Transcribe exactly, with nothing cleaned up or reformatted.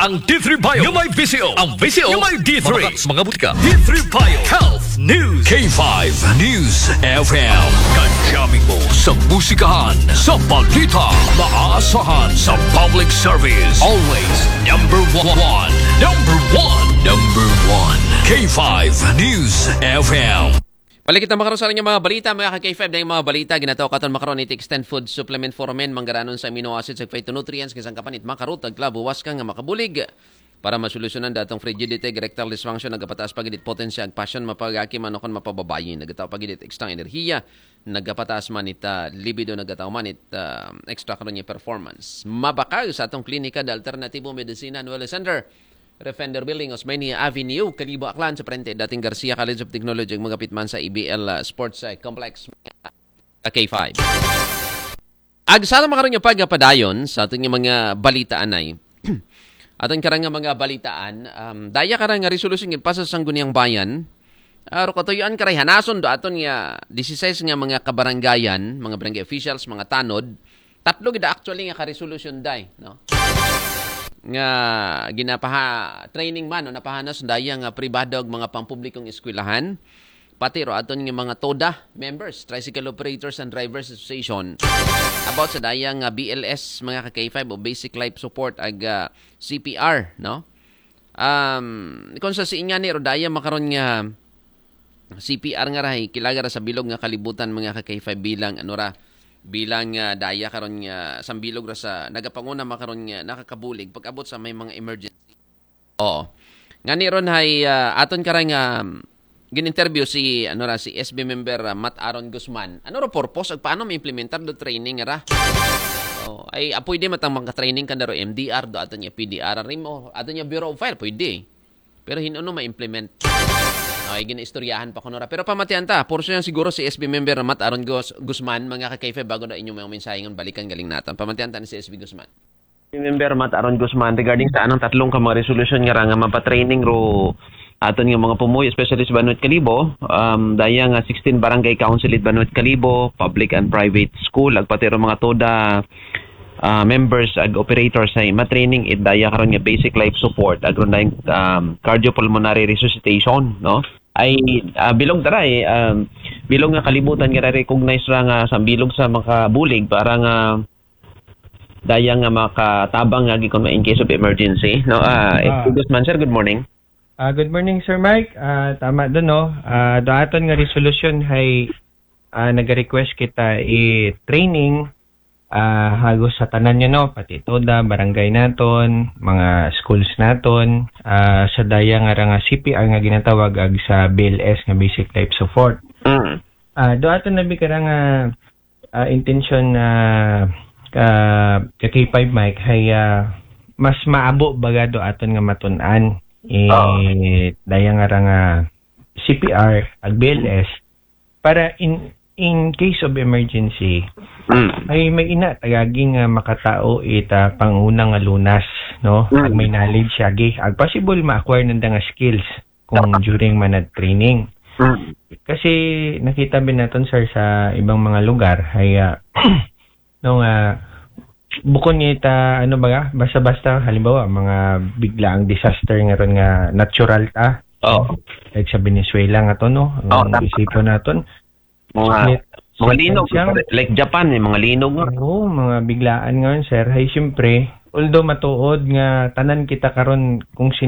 Ang D three Bio nga may V C O. Ang V C O nga may D three. Mabakas mga butika. D three Bio Health News. K five News F M. Kadyamin mo sa musikahan, sa balita, maaasahan sa public service. Always number one. Number one. Number one. K five News F M. Balik kita makaron sa inyong mga balita, mga ka-K five, na yung mga balita, ginatawag katon makaron iti Extend Food Supplement for Men, manggaranon sa amino acids, ug phytonutrients, nga sangkapan it makarot, agla, buwas ka nga makabulig. Para masolusyonan datong frigidity, erectile dysfunction, nagapataas pagidit potensiya, ag passion, mapagaki man o kon mapababayi, nagataw pagidit extra enerhiya, nagapataas man ita libido, nagataw man it, ah, extra karon nga performance. Mabakal sa atong klinika, the Alternativo Medicine and Wellness Center. Refender Building, Osmeña Avenue, Kalibo, Aklan, sa parente dating Garcia College of Technology, ug magapit man sa A B L, uh, Sports, uh, Complex, uh, K five. Ag sa makaron nga pagpadayon sa aton nga mga balita anay. Aton karang nga mga balitaan, um, daya karang nga resolusyon nga ipasa sa Sangguniang Bayan. Aro katuyoan karay hanason do aton nga disisais nga mga kabarangayan, mga barangay officials, mga tanod, tatlo gid actually nga ka-resolution day, no? Nga ginapaha training man o napahanas daya nga pribado ug mga pampublikong eskwelahan, pati ro aton nga mga TODA members, Tricycle Operators and Drivers Association, about sa daya nga B L S, mga ka-K five, o Basic Life Support ag, ah, C P R, no? Um, kung sa siin nga ni ro daya makaron nga C P R nga rahay, kilaga ra sa bilog nga kalibutan, mga ka-K five, bilang, ano ra, bilang, ah, daya karon nga sambilog ra sa nagapanguna makaron nga nakakabulig pag-abot sa may mga emergency. Oo. Ngani ron hay, ah, aton karang, um, gin-interview si, ano ra, si S B member, ah, Matt Aaron Guzman. Ano ra purpose ag paano ma-implementar do training ra? Oh, ay, ah, pwede matang mga training kan daro M D R do aton nga P D R rin mo, aton nga Bureau of Fire, pwede. Pero hin-o no ma-implement? Ay, ginaistoryahan pa kuno ra. Pero pamatian ta, portion yan siguro si S B member Matt Aaron Gus-, Guzman, mga ka-K five, bago na inyong mga mensahe nga balikan galing naton. Pamatian ta ni si S B Guzman. Member Matt Aaron Guzman, regarding sa anang tatlong ka mga resolution nga ra nga mapatraining ro aton nga mga pumuyo, especially sa Banwit Kalibo, um, daya nga sixteen barangay council it Banwit Kalibo, public and private school, agpati ro mga TODA, ah, members ag operators ay matraining it daya karon nga basic life support, agron dayang, um, cardiopulmonary resuscitation, no? Ay, ah, bilog taray, um, bilog nga kalibutan nga recognize ra nga sambilog sa makabulig para nga daya nga makatabang nga gikan in case of emergency, no? Ah, Ah. Guzman, sir, good morning. Ah, good morning, Sir Mike. Ah, tama doon, no? Ah, do aton nga resolusyon hay, ah, nag-request kita i-training, ah, hagos sa tanan niya, no? Pati TODA, barangay naton, mga schools naton, ah, sa daya nga ra nga C P R nga ginatawag ag sa B L S nga basic life support. Mm. Ah, do aton na bi kara nga ah, intensyon na ka, ka K five, Mike, hay, ah, mas maabo baga do aton nga matun-an. Eh, Oo. Daya nga ra nga C P R, ag B L S, para in, in case of emergency, Mm. ay may ina tagagi nga makatao ita panguna nga lunas, no? Mm. Ag may knowledge agi, ag possible ma-acquire nanda nga skills kung during man training. Mm. Kasi nakita bin naton, sir, sa ibang mga lugar, ay, ah, no, nga, bukon nga ita, ano ba nga, basta-basta, halimbawa, mga biglaang disaster nga ron nga natural ta. Oo. Like sa Venezuela nga to, no? Oo, ang tama. Isipon naton, Mga, Net-, mga linog, siyang like Japan, eh, mga linog nga. Oo, mga biglaan nga yun, sir. Hay, siyempre, although matuod nga tanan kita karon kung sino